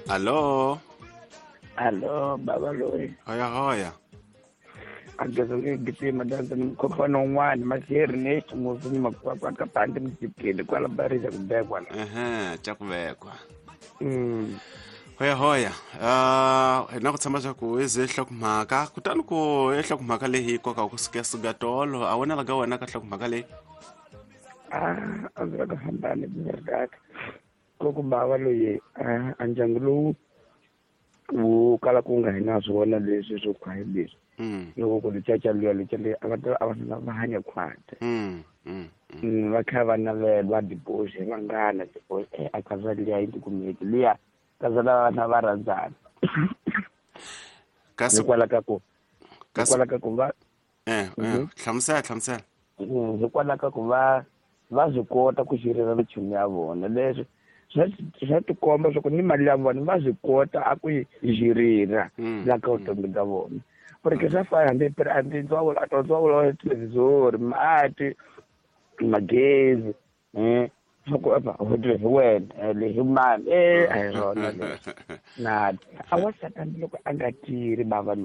Alo. Alo, baba loyi. Hoya hoya. Ageza nge gitima danza ni mkhopano un'wana maseri ne ximusi ni makwakwa ka pandi mjikile kwala barisa kubekwa la. Ehe, cha kuvekwa. Hoya hoya. Hina ku tshama swa ku ize nhlokomhaka kutani ku i nhlokomhaka leyi yi koka ku suka tolo a wena ka wena ka nhlokomhaka leyi. A ndzi ka hambani verdad. Ko ku bava loyi a ndyangu lowu wu kala ku nga hi na swona leswi swo khwayi leswi. Loko ku licaca luya lica leyi a va ta a va va hanya khwati. Va kha va navela va divorce vanghana divorce a kaza liya yi tikumeki liya kaza lava vana va rhandzana. Kasi hikwalaho ka ku hikwalaho ka ku va hlamusela hlamusela. Hikwalaho ka ku va va swi kota ku xirira minchumu ya vona leswi swa tikomba swa ku ni mali ya vona va swi kota a ku yi xirira la ka vutomi bya vona. Porque swa fana hambi hambi ndzawulo a to ndzawulo wa televhizori mati magezi swa ku apa hi wena le hi mani a hi swona leswi na a wa satani loko a nga tirhi bava.